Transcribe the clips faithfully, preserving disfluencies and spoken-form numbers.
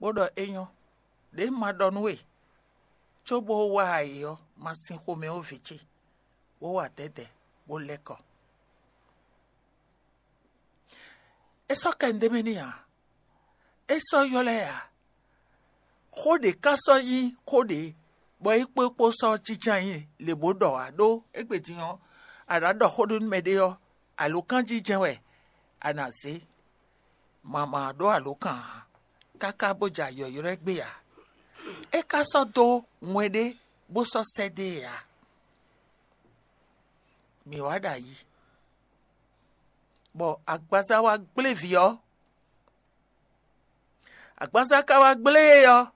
bó ɖɔ é nyɔ́, ɖě un ma ɖɔ nú we, cóbó wá ayǐ ɔ́, ma sin xomɛ ó vǐ ce, bó wa dɛ̌dɛ̌, bó lɛ́ kɔ. É sɔ́ kɛ nú ɖ'é mɛ n'i ǎ; é sɔ́ ylɔ́ ɛ ǎ. Xó ɖě ka sɔ́ nyí xó ɖě bɔ é kpó é kpó sɔ́ jínjɔ́n ayǐ lě bó ɖɔ ǎ, ɖó égbé din ɔ́, a nǎ ɖɔ xó ɖé nú mɛɖé ɔ́, alǒkanjijɛ wɛ a nǎ zé. Mama ɖó alǒkan ǎ, káká bó ja yɔ̌yrɔ́ ɛ gbé ǎ. É ka sɔ́ dó wɛn ɖé bó sɔ́ sɛ́ dó e ǎ. Mǐ wá ɖo ayǐ, bɔ agbaza wá gblé vǐ ɔ́. Agbaza ka wá gblé e ɔ́,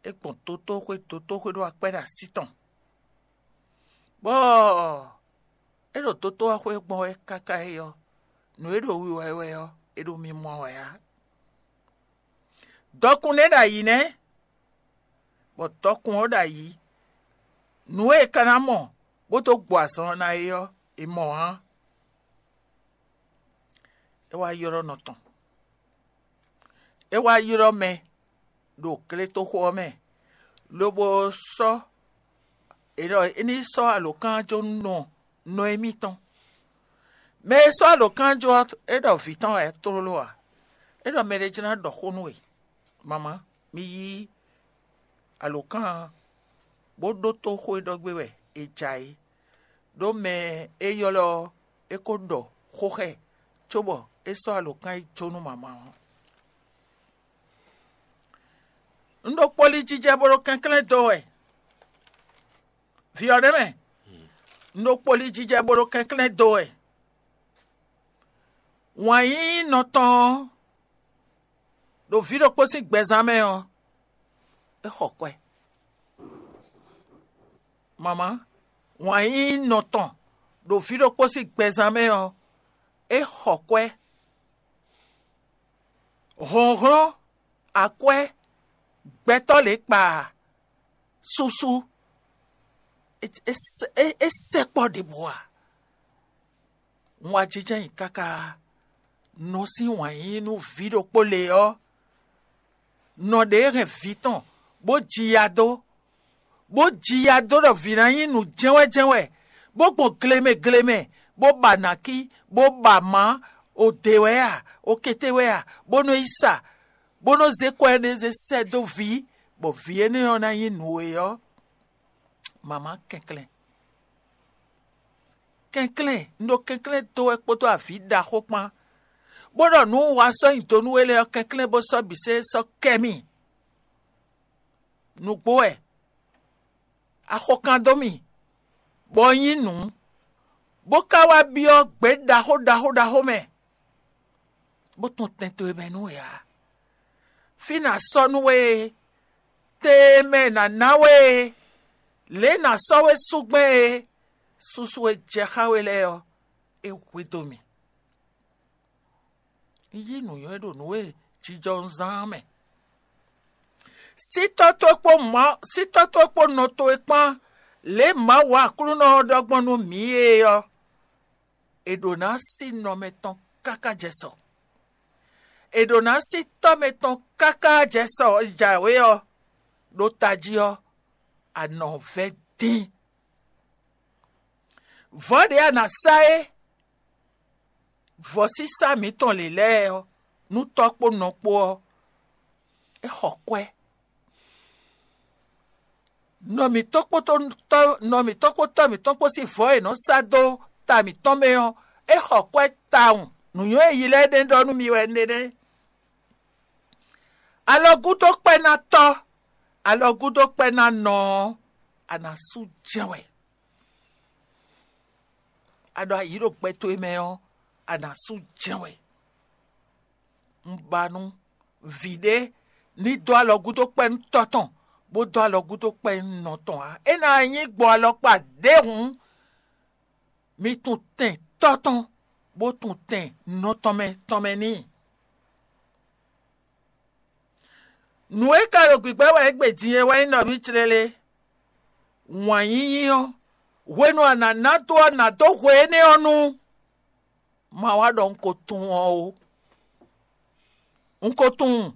é gbɔn dotóxwé, dotóxwé ɖó akwɛ́ ɖo así tɔn, bɔ é ɖo dotóxwé gbɔn wɛ káká é ɔ́, nǔ e ɖo wiwa ɛ wɛ ɔ́, é ɖo mimɔ wɛ ǎ. Dɔkun nɛ́ ɖo ayǐ nɛ́, bɔ dɔkun ɔ́ ɖo ayǐ; nǔ e è ka ná mɔ bó dó gbɔ azɔn ɔ́ ná é ɔ́, è mɔ ǎ. É wá ylɔ́ nɔ tɔn; é wá ylɔ́ mɛ ɖo gletoxo ɔ́ mɛ, lobo sɔ́ è ɖɔ é ní sɔ́ alǒkanjó nú nɔ Nɔemitɔn. Mɛ e sɔ́ alǒkanjó ɔ́, é ɖɔ vǐ tɔn wɛ tlóló ǎ; é ɖɔ mɛɖé jló ná ɖɔ xó nú we. Mama, mi yí alǒkan ɔ́, bó ɖótó xó e ɖɔ gbé wɛ è ja é, ɖó mɛ e ylɔ́ ɔ́, é ko ɖɔ xó xá ɛ, cóbɔ é sɔ́ alǒkan e jó nú mama ɔ́. Un ɖo kpolí jijɛ bó ɖo kɛnklɛ́n dó wɛ. Vǐ ɔ́ ɖ'é mɛ, un ɖo kpolí jijɛ bó ɖo kɛnklɛ́n dó wɛ. Wǎn yíyí nɔ tɔn ɔ́, ɖo vǐ ɖokpó sín gbɛzán mɛ ɔ́, é xɔ kwɛ. Mama, wǎn yíyí nɔ tɔn ɖo vǐ ɖokpó sín gbɛzán mɛ ɔ́, é xɔ kwɛ. Hlɔ̌nhlɔ́n, akwɛ́, gbɛtɔ́ lě kpa, susu, é, é, é, é sɛkpɔ́ ɖěbǔ ǎ. Un wá jínjɔ́n ayǐ káká nɔ sín wǎn yíyí nú vǐ ɖokpó lě ɔ́, nɔ ɖě hɛn vǐ tɔn, bó ji ya dó, bó ji ya dó ɖɔ vǐ ná nyí nǔ jɛ́nwɛ́jɛ́nwɛ, bó gbɔn glemɛ glemɛ, bó ba nǎkí, bó ba mǎ, o dě wɛ a, o kété wɛ a, bó nɔ́ yi sa, bó nɔ́ zé kwɛ́ énɛ́ zé sɛ́ dó vǐ, bɔ vǐ énɛ́ ɔ́ ná nyí nǔ e ɔ́, mama kɛnklɛ́n. Kɛnklɛ́n, un ɖo kɛnklɛ́n dó wɛ kpódó avǐ ɖaxó kpán, bó ɖɔ nǔ un wa sɔ́ nyi do nú we lɛ́ɛ ɔ́, kɛnklɛ́n bó sɔ́ bǐ sɛ́ sɔ́ kɛ mì. Nǔgbó wɛ, axɔkan dó mì, bɔ un nyí nǔ, bó ka wá byɔ́ gbě ɖaxó ɖaxó ɖaxó mɛ, bó tɔn tɛn towe mɛ nú we ǎ. Fí nǎ sɔ́ nú we e, te e mɛ è nǎ ná we e, lě e è nǎ sɔ́ we sú gbɛn e, susu e jɛ xá we lɛ́ɛ ɔ́, é hwedó mì. Un yí nǔnywɛ́ ɖo nǔ e jijɔ un zán ɔ́ mɛ. Sítɔ́ towe kpó Mawu, sítɔ́ towe kpó nɔ towe kpán, lě e Mawu Aklúnɔ ɔ́ ɖɔ gbɔn nú mǐ é ɔ́, è ɖǒ ná sí nɔ mɛtɔn káká jɛ sɔ. È ɖǒ ná sí tɔ́ mɛtɔn káká jɛ sɔ jǎwe ɔ́, ɖó tají ɔ́, a nɔ vɛ́ dín. Vɔ̌ ɖě a nǎ sá é, vɔ̌sísá mǐtɔn lě lɛ́ɛ ɔ́, nú tɔ́ kpó nɔ kpó ɔ́, é xɔ kwɛ́. Nɔ mǐtɔn kpódó tɔ́ nɔ mǐtɔn kpó tɔ́ mǐtɔn kpó sín vɔ̌ e è nɔ sá dó ta mǐtɔn mɛ ɔ́, é xɔ kwɛ́ tawun. Nǔnywɛ́ e yi lɛ́ɛ ɖe ɖɔ nú mi wɛ nénɛ́. Alɔ gúdo kpɛ́ ná tɔ́, alɔ gúdo kpɛ́ ná nɔ ɔ́, a nǎ sú jɛ́n wɛ. A ɖo ayǐ ɖo gbɛ towe mɛ ɔ́, a nǎ sú jɛ́n wɛ. Un ba nú vǐ ɖé ní dó alɔ gúdo kpɛ́ nú tɔ́ tɔn, bó dó alɔ gúdo kpɛ́ nú nɔ tɔn ǎ. É ná nyí gbɔ alɔkpa ɖěhǔn, mi tunwun tɛn tɔ́ tɔn, bó tunwun tɛn nɔ tɔn mɛ tɔn mɛ n'i. Nǔ e ka ɖo gbǐgbɛ́ wɛ égbé din é wɛ nyí nɔví clélé. Wǎn yíyí ɔ́, hwenu a nǎ ná dó ɔ́, nǎ dó hwe énɛ́ ɔ́ nu. Ma wá ɖɔ un ko tunwun ɔ́ ó. Un ko tunwun